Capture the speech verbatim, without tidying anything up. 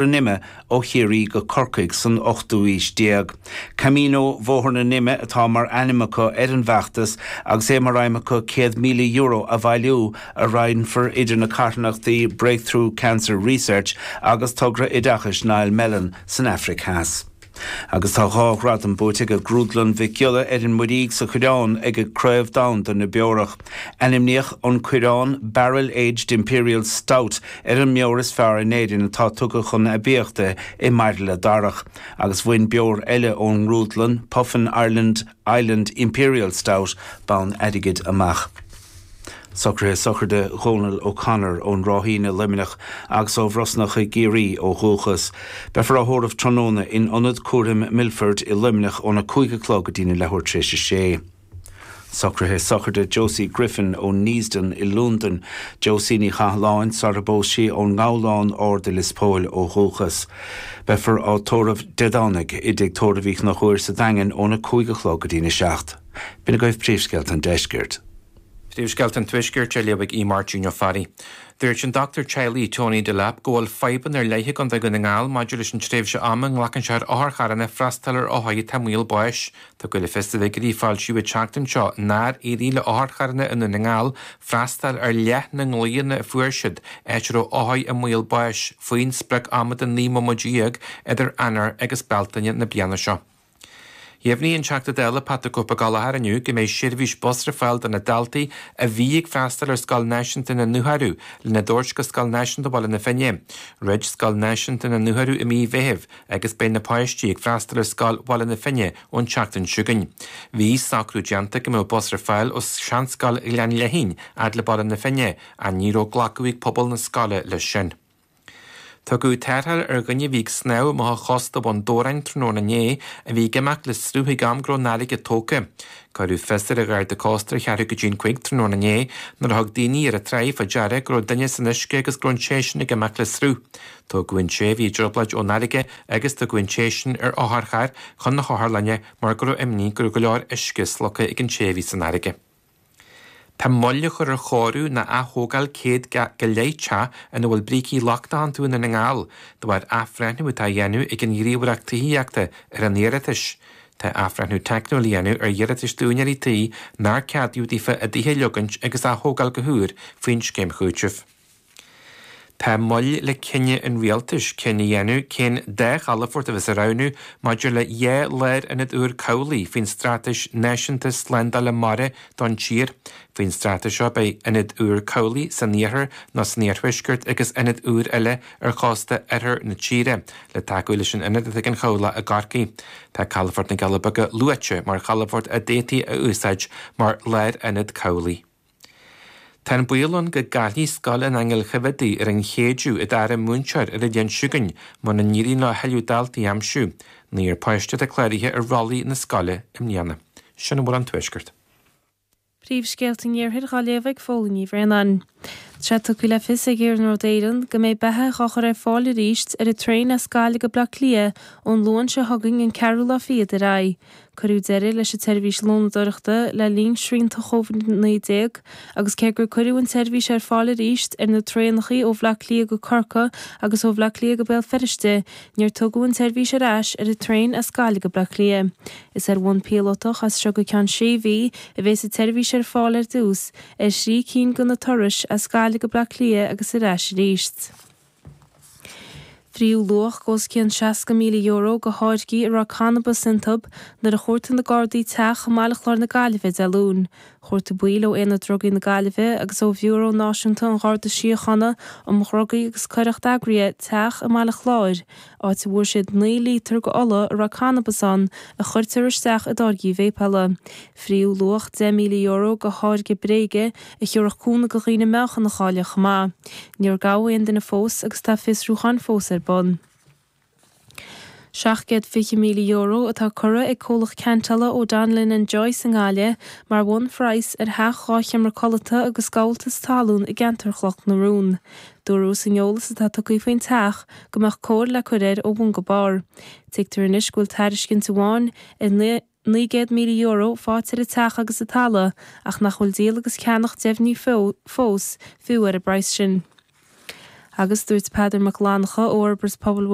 an Ime ó Chiarraí go Corcaigh san ochtú haois déag. Camino Bhóthar na nIme atá mar ainm acu ar an bhfeachtas agus é mar aidhm acu céad míle euro a bhailiú a roinnfear idir na carthanachtaí Breakthrough Cancer Research agus togra oideachais Niall Mellon san Afraic Theas. Agus tá dhá ghradam buaite ag Grúdlann Mhic Giolla ar an Muirígh sa Choireán ag Craobh Domhanda na Beorach. Ainmníodh an Coireán Barrel Aged Imperial Stout ar an mbeoir is fearr in Éirinn atá tugtha chun aibíochta i mbairille darach, agus bhain beoir eile ón ngrúdlann Puffin Ireland Island Imperial Stout bonn airgid amach. Socruithe sochraide Dhónal O'Connor ón Ráithín i Luimneach agus ó Bhrosnach i gCiarraí ó dhúchas. Beifear á thórramh tráthnóna in Ionad Cúraim Milford i Luimneach óna cúig a chlog go dtí na leathuair tar éis a sé. Socruithe sochraide Josie Griffin ó Neasden i Londain, Josie Ní Chathalláin sar a bpós sí ón nGabhlán Ard i Lios Póil ó dhúchas. Beifear á tórramh Dé Domhnaigh i dTigh Tórraimh Uí Chonchúir sa Daingean óna cúig a chlog go dtí na seacht. B'in agaibh príomhscéalta an deiscirt. Príomhscéalta an Tuaiscirt á léamh ag Máirtín Ó Fearraigh. Dúirt an dochtúir teaghlaigh Tony Delap go bhfuil fadhbanna ar leith i gContae Dhún na nGall maidir leis an tréimhse ama a nglacann sé ar otharcharranna freastal ar othair atá i mbaol báis. Tugadh le fios i bhfigiúirí a foilsíodh an tseachtain seo nár éirigh le otharcharranna i nDún na nGall freastal ar leath na nglaonna a fuair siad, áit a raibh othair i mbaol báis, faoin sprioc ama de naoi mbomaite déag idir Eanáir agus Bealtaine na bliana seo. Dheimhnigh an Teachta Dála Pat the Cope Gallagher inniu go mbeidh seirbhís bus ar fáil do na daltaí a bhí ag freastal ar Scoil Náisiúnta na nDúthairiú lena dtabhairt go Scoil Náisiúnta Bhaile na Finne. Dhruid Scoil Náisiúnta na nDúthairiú i mí Mheithimh agus beidh na páistí ag freastal ar Scoil Bhaile na Finne ón tseachtain seo chugainn. Bhí socrú déanta go mbeadh bus ar fáil ó Seanscoil Ghleann Léithín fhad le Baile na Finne ach ní raibh glacadh ag pobal na scoile leis sin. Tugadh tarrtháil ar dhuine a bhí ag snámh amach ó chósta Bhun Dobhráin tráthnóna inné a bhí ag imeacht le sruth ag am go raibh an fharraige tógtha. Cuireadh fios ar an Gharda Cósta ar cheathrú go dtí an cúig tráthnóna inné nuair a thug daoine ar an tráigh fá deara go raibh duine san uisce agus go raibh an té sin ag imeacht le sruth. Tógadh an té a bhí i dtrioblóid ón fharraige agus tugadh an té sin ar otharcharr chun na hotharlainne mar go raibh imní go raibh go leor uisce slogtha ag an té a bhí san fharraige. Tá moill á chur ar chóiriú nó aththógáil céad go leith teach ina bhfuil brící lochtacha iontu i nDún na nGall, de bharr athbhreithniú atá á dhéanamh ag an Ghníomhaireacht Tithíochta ar an iarratais. Tá athbhreithniú teicniúil á dhéanamh ar iarratais d'úinéirí tí nár ceadaíodh daofa a dtithe a leogaint agus a aththógáil go húr faoin scéim chúitimh. Tá moill le cinneadh an rialtais cinneadh a dhéanamh cén dá chalafort a bheas á roghnú maidir le dhá lárionad úr cabhlaigh faoin Straitéis Náisiúnta Slándála Mara don tír. Faoin straitéis seo beidh ionad úr cabhlaigh san iarthar nó san iarthuaisceart agus ionad úr eile ar chósta oirthear na tíre le tacú leis an ionad atá ag an chabhlach i gCorcaigh. Tá calafort na gCealla Beaga luaite mar chalafort a d'fhéadfaí a úsáid mar lárionad cabhlaigh. Tá an baol ann go gcaillfidh Scoil an Aingil Choimhéadaigh ar an Chéideadh a dara múinteoir ar an bhliain seo chugainn muna n-éiríonn leo a thuilleadh daltaí a aimsiú. Naonúr páiste atá cláraithe ar rollaí na scoile i mbliana. Sin a bhfuil ón Tuaisceart. Príomhscéalta an Iarthair á léamh ag Fódhla Ní Bhraonáin. Tá sé tugtha le fios ag Iarnród Éireann go mbeidh beatha á chur ar fáil arís ar an traein as Gaillimh go Baile Átha Cliath ón Luan seo chugainn an ceathrú lá fichead ar aghaidh. Cuireadh deireadh leis an tseirbhís lónadóireachta le linn srianta Covid naoi déag agus cé gur cuireadh an tseirbhís ar fáil arís ar na traenacha ó Bhaile Átha Cliath go Corcaigh agus ó Bhaile Átha Cliath go Béal Feirste, níor tugadh an tseirbhís ar ais ar an traein as Gaillimh go Baile Átha Cliath. Is ar bhonn píolótach as seo go ceann sé mhí a bheas an tseirbhís ar fáil ar dtús ar thrí cinn de na turais as Gaillimh go Baile Átha Cliath agus ar ais arís. Fríodh luach os cionn seasca míle euro de tháirgí a raibh cannabas iontu nuair a chuartaigh na Gardaí teach i mBaile Chláir na Gaillimhe Dé Luain. Chuartaigh baill ó Aonad Drugaí na Gaillimhe agus ó Bhiúró Náisiúnta an Gharda Síochána um Dhrugaí agus Coireacht Eagraithe teach i mBaile Chláir, áit a bhfuair siad naoi lítear de ola a raibh cannabas ann a chuirtear isteach i dtáirgí véipeála. Fríodh luach deich míle euro de tháirge bréige a thiúrfadh cúnamh do dhaoine meáchan a chailleadh chomh maith. Níor gabhadh aon duine fós agus tá fiosrúchán fós ar bun. Seacht gcéad fiche míle euro atá curtha ag comhlacht ceantála O'Donnellan and Joyce i nGaillimh mar bhunphraghas ar theach dhá sheomra codlata agus gabháltas talún i gceantar Chnoc na Rún. Dúradh san eolas atá tugtha faoin teach go mbeadh cóir le cur air ó bhun go barr. Tuigtear anois go bhfuil tairiscint amháin ar naoi gcéad míle euro faighte ar an teach agus an talamh ach nach bhfuil díol agus ceannach deimhnithe fós fiú ar an bpraghas sin. Agus dúirt Peadar Mac Fhlannchadha ó Fhorbairt Pobail